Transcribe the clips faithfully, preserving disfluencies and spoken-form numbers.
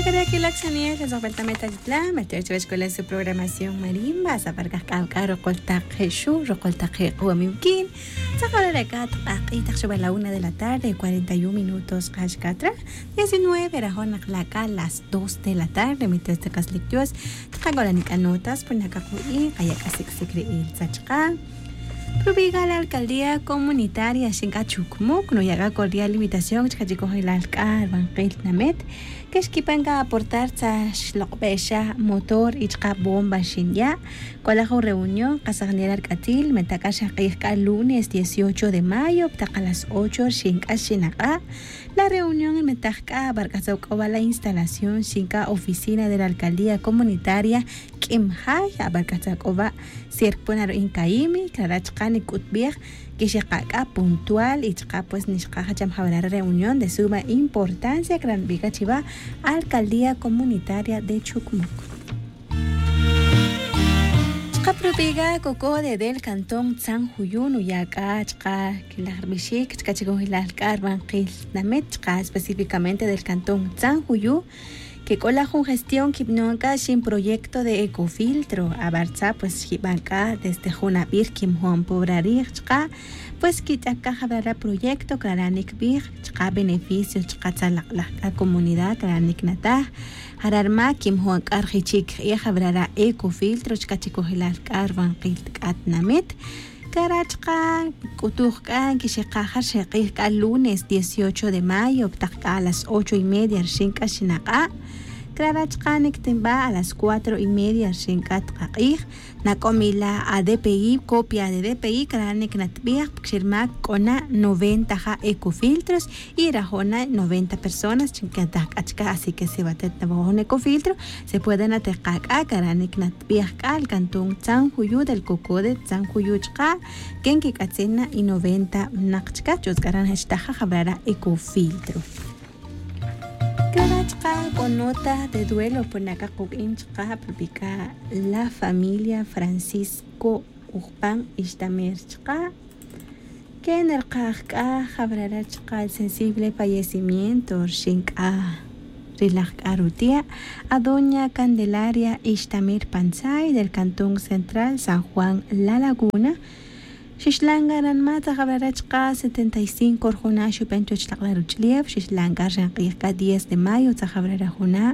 Kare' kilak xaniel tzojbel ta meta chitla meta chiwach k'ola su programación marimba sabar kajk'aw k'a roqol taq je' xu' roqol taq je' q'uwamim kin. Tzajol re' k'a taq q'aq'i' taq xubal la una de la tarde cuarenta y un minutos q'ax katra diecinueve rajon naq la k'a las dos de la tarde. Mientras te qaslik dios taqak'ola nik'a notas puna k'a qu'i' qaya' k'a sik' sik' ri'il tzachqa'. Rubiga la alcaldía comunitaria xink'a chukmuk nuya' k'a cordial invitación chka chikojilal k'a rbanqil namet. Ke xkipan k'a aportar tza xlok'be'xa motor y chka bomba xinya'. K'ola jun reunión qasajnel ark'atil menta k'a xaq'ij k'a lunes dieciocho de mayo ptaq a las ocho xink'a xinaq'a'. La reunión inmetaj k'a abark'atza' k'o ba la instalación xink'a oficina de la alcaldía comunitaria k'im jay abark'atza' k'o ba. Sierkpon aru' inkayimi krara' chka' nik'utbij kixeqa' k'a puntual y chka' pues nixqa' jacham jabrara' reunión de suma importancia krara' nbij k'a chiva alcaldía comunitaria de chukmuk. Chka' propiga koko de del cantón tzan juyu nuya' k'a chka' kilaj rbixik chka' chikojilal k'a rbanqil namit chka' específicamente del cantón tzan juyu. Kek'ola jun gestión kibnon k'a xin proyecto de ecofiltro abartza pues xkiban k'a desde jun abir kimjon pobra rij chka' pues kich'ak k'a jabrara' proyecto krara' nikbij chka' beneficio chka' tzalak'laj k'a comunidad krara' niknataj. Jara' rma kimjon k'a rjichik k'ij jabrara' ecofiltro chka' chikojilal k'a rbanqil k'a tinamit. Kara' chka' k'utuj k'a nkixeqaja rxeq'ij k'a lunes dieciocho de mayo ptaq k'a a las ocho y media rxin k'a xinaq'a'. Kara' chka' niktinba a las cuatro y media rxin k'a tqaq'ij. Nak'omila a dpi copia de dpi kara' niknatbij pkxirma k'ona noventa ja ecofiltros y rajona noventa personas chinkataj k'a chka' así que si batet nabajoj ecofiltro se puede nateqa' k'a kara' niknatbij k'a el cantón tzan juyu del cocode tzan juyu chka' ken kik'atzin na y noventa naq chka' ch'utz kara' naj chtaja jabrara' ecofiltro. Kara' chka' k'o nota de duelo puna k'a quk'in chka' propica la familia francisco ujpan ixtamer chka' ken rkaj k'a jabrara' chka' el sensible fallecimiento rxin k'a rilaj k'a rutia' a doña candelaria ixtamer pantzay del cantón central san juan la laguna. Xixlan k'a ranma' tzajabrara' chka' setenta y cinco rjuna' xuben chuwech laq'la' ruch'lef xixlan k'a rxin q'ij k'a diez de mayo tzajabrara' juna'.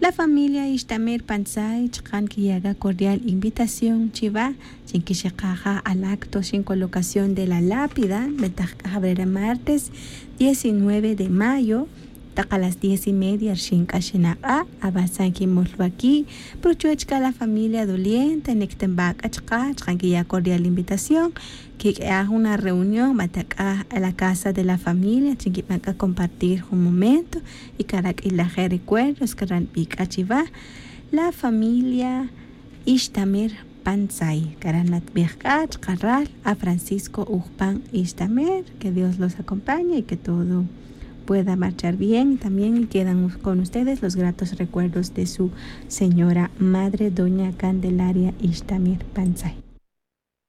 La familia ixtamer pantzay chka' nkiya' k'a cordial invitación chiva chi nkixeqaja al acto xin colocación de la lápida nbetaj k'a jabrara' martes diecinueve de mayo. Taq a las diez y media rxin k'a xinaq'a' abatzan kimol waki' pero chuwech k'a la familia doliente niktinba k'a chka' chka' nkiya' cordial invitación. Kik'e'aj una reunión bata k'a la casa de la familia chi nkiban k'a compartir jun momento y kara' k'ilaje' recuerdos kara' nbi k'a chiva la familia ixtamer pantzay kara' natbij k'a chka' ral a francisco ujpan ixtamer. Que dios los acompañe y que todo pueda marchar bien y también quedan con ustedes los gratos recuerdos de su señora madre doña candelaria ixtamer pantzay.